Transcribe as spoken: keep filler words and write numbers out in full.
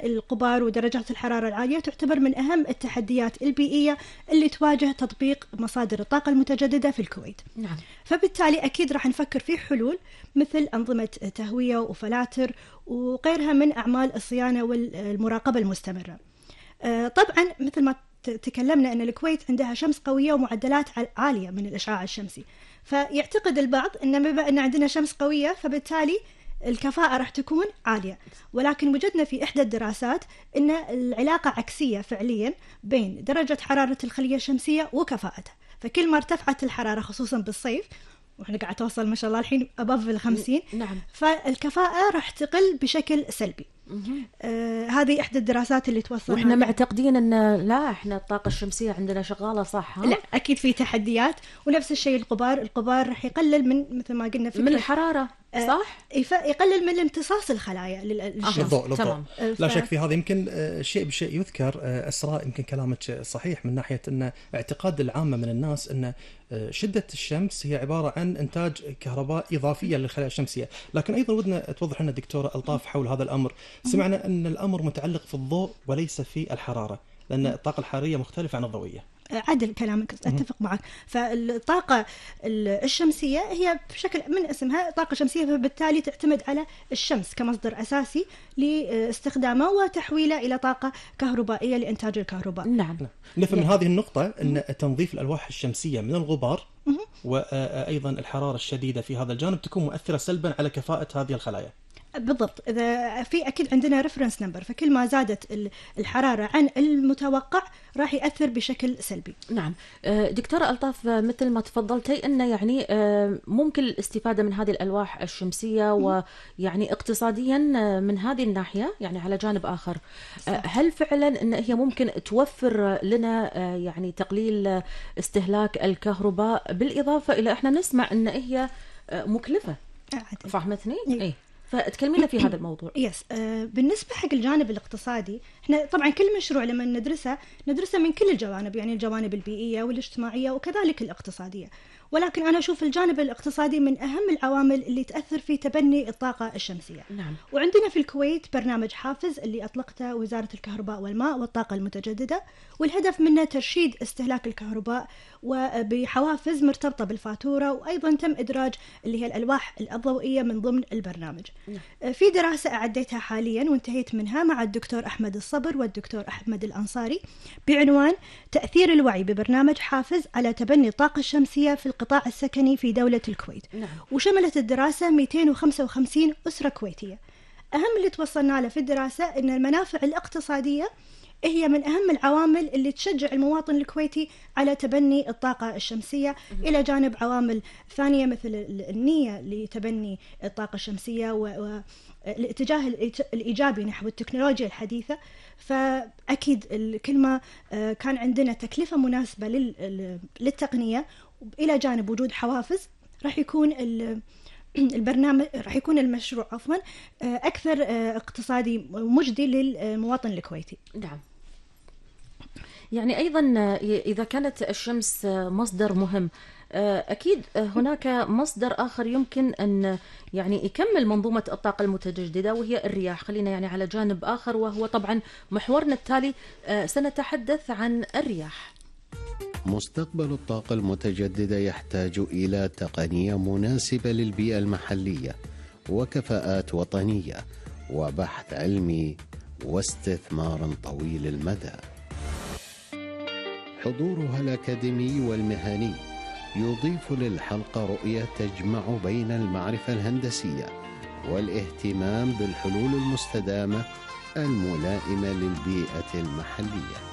الغبار ودرجات الحرارة العالية تعتبر من أهم التحديات البيئية اللي تواجه تطبيق مصادر الطاقة المتجددة في الكويت. نعم. فبالتالي أكيد راح نفكر في حلول مثل أنظمة تهوية وفلاتر وغيرها من أعمال الصيانة والمراقبة المستمرة. طبعا مثل ما تكلمنا أن الكويت عندها شمس قوية ومعدلات عالية من الإشعاع الشمسي، فيعتقد البعض أن بما أن عندنا شمس قوية فبالتالي الكفاءة راح تكون عالية، ولكن وجدنا في إحدى الدراسات أن العلاقة عكسية فعليا بين درجة حرارة الخلية الشمسية وكفاءتها. فكل ما ارتفعت الحرارة خصوصا بالصيف، وإحنا قاعد توصل ما شاء الله الحين أبف الخمسين، نعم. فالكفاءة راح تقل بشكل سلبي. آه هذه إحدى الدراسات اللي توصل. وإحنا معتقدين أن لا إحنا الطاقة الشمسية عندنا شغالة صح. ها؟ لا أكيد في تحديات، ونفس الشيء الغبار الغبار راح يقلل من مثل ما قلنا من الحرارة صح؟ يقلل من امتصاص الخلايا للشمس. بالضوء بالضوء. ف... لا شك في هذا. يمكن شيء بشيء يذكر أسراء، يمكن كلامك صحيح من ناحية أن اعتقاد العامة من الناس أن شدة الشمس هي عبارة عن إنتاج كهرباء إضافية للخلايا الشمسية، لكن أيضا ودنا توضح لنا دكتورة ألطاف حول هذا الأمر. سمعنا أن الأمر متعلق في الضوء وليس في الحرارة، لأن الطاقة الحرارية مختلفة عن الضوئية. عدل كلامك، أتفق معك. فالطاقة الشمسية هي بشكل من اسمها طاقة شمسية، فبالتالي تعتمد على الشمس كمصدر أساسي لاستخدامه وتحويله إلى طاقة كهربائية لإنتاج الكهرباء. نعم. نفهم من هذه النقطة أن تنظيف الألواح الشمسية من الغبار وأيضا الحرارة الشديدة في هذا الجانب تكون مؤثرة سلبا على كفاءة هذه الخلايا. بالضبط. إذا في أكيد عندنا ريفرنس نمبر، فكل ما زادت الحرارة عن المتوقع راح يأثر بشكل سلبي. نعم. دكتورة ألطاف، مثل ما تفضلتي أنه يعني ممكن الاستفادة من هذه الألواح الشمسية ويعني اقتصاديا من هذه الناحية، يعني على جانب آخر هل فعلا أن هي ممكن توفر لنا يعني تقليل استهلاك الكهرباء، بالإضافة إلى إحنا نسمع أن هي مكلفة؟ فهمتني؟ إيه. فتكلمينا في هذا الموضوع. يس. آه بالنسبة حق الجانب الاقتصادي، احنا طبعا كل مشروع لما ندرسه ندرسه من كل الجوانب، يعني الجوانب البيئية والاجتماعية وكذلك الاقتصادية، ولكن أنا أشوف الجانب الاقتصادي من أهم العوامل اللي تأثر في تبني الطاقة الشمسية. نعم. وعندنا في الكويت برنامج حافز اللي أطلقته وزارة الكهرباء والماء والطاقة المتجددة، والهدف منه ترشيد استهلاك الكهرباء وبحوافز مرتبطة بالفاتورة، وأيضا تم إدراج اللي هي الألواح الضوئية من ضمن البرنامج. نعم. في دراسة أعديتها حاليا وانتهيت منها مع الدكتور أحمد الصبر والدكتور أحمد الأنصاري بعنوان تأثير الوعي ببرنامج حافز على تبني الطاقة الشمسية في القطاع السكني في دولة الكويت. نعم. وشملت الدراسة مئتين وخمسة وخمسين أسرة كويتية. أهم اللي توصلنا له في الدراسة أن المنافع الاقتصادية هي من أهم العوامل اللي تشجع المواطن الكويتي على تبني الطاقة الشمسية، إلى جانب عوامل ثانية مثل النية لتبني الطاقة الشمسية والاتجاه الإيجابي نحو التكنولوجيا الحديثة. فأكيد كل ما كان عندنا تكلفة مناسبة للتقنية إلى جانب وجود حوافز، راح يكون البرنامج راح يكون المشروع عفوا أكثر اقتصادي مجدي للمواطن الكويتي. نعم. يعني أيضا إذا كانت الشمس مصدر مهم، أكيد هناك مصدر آخر يمكن أن يعني يكمل منظومة الطاقة المتجددة، وهي الرياح. خلينا يعني على جانب آخر، وهو طبعا محورنا التالي سنتحدث عن الرياح. مستقبل الطاقة المتجددة يحتاج إلى تقنية مناسبة للبيئة المحلية وكفاءات وطنية وبحث علمي واستثمار طويل المدى. حضورها الأكاديمي والمهني يضيف للحلقة رؤية تجمع بين المعرفة الهندسية والاهتمام بالحلول المستدامة الملائمة للبيئة المحلية.